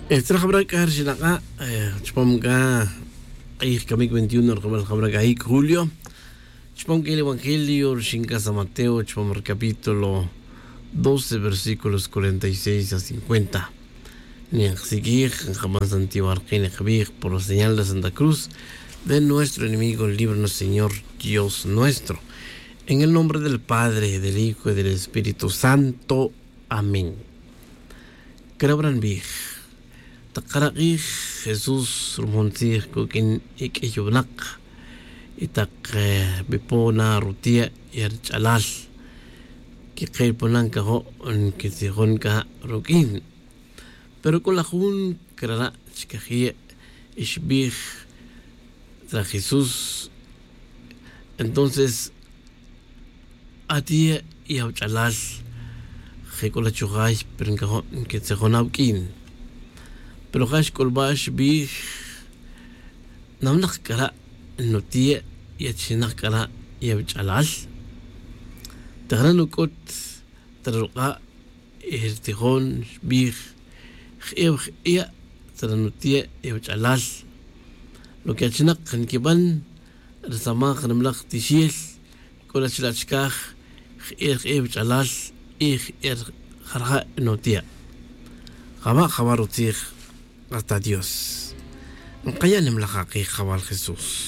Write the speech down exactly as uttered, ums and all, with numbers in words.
Tzra jabra' c'a rixin ak'a' chupam c'a k'ij camic veintiuno rjabal jabra' c'a ic julio. Chupam c'a el evangelio rixin c'a san mateo chupam rcapítulo doce versículos cuarenta y seis a cincuenta. Nin kasiquij nkaban santiwar ke nin kbij por la señal de santa cruz de nuestro enemigo líbranos señor dios nuestro. En el nombre del padre del hijo y del espíritu santo. Amén. Creo bran bij. Tak karak'ij jesús rumon tzij kuq'uin iq'uiy winak y tak bipo na rutie' y rich'alal que ke ponan cajo' nquitzijon c'a ruq'uin. Pero c'o laj jun crara' chcaje' y xbij tzra jesús. Entonces atie' y awach'alal je c'o la chujay pero ncajo' nquetzijon awuq'uin. Pero ja xc'ulba' xbij nawnak c'ara' nutie' y achinak c'ara' y awach'alal. Tajra' nuc'ut ta ruk'a' y ritijon xbij je'ew je'e' ta nutie' y awach'alal. Lo que achinak nquiban risamaj nimalaj tixil c'o la chila' chicaj je'e' je'e' awach'alal y je'e' jarja' nutie'. Jaba' jaba' rutzij. Hasta dios. Nkaya' nimalaj akij jawal jesús.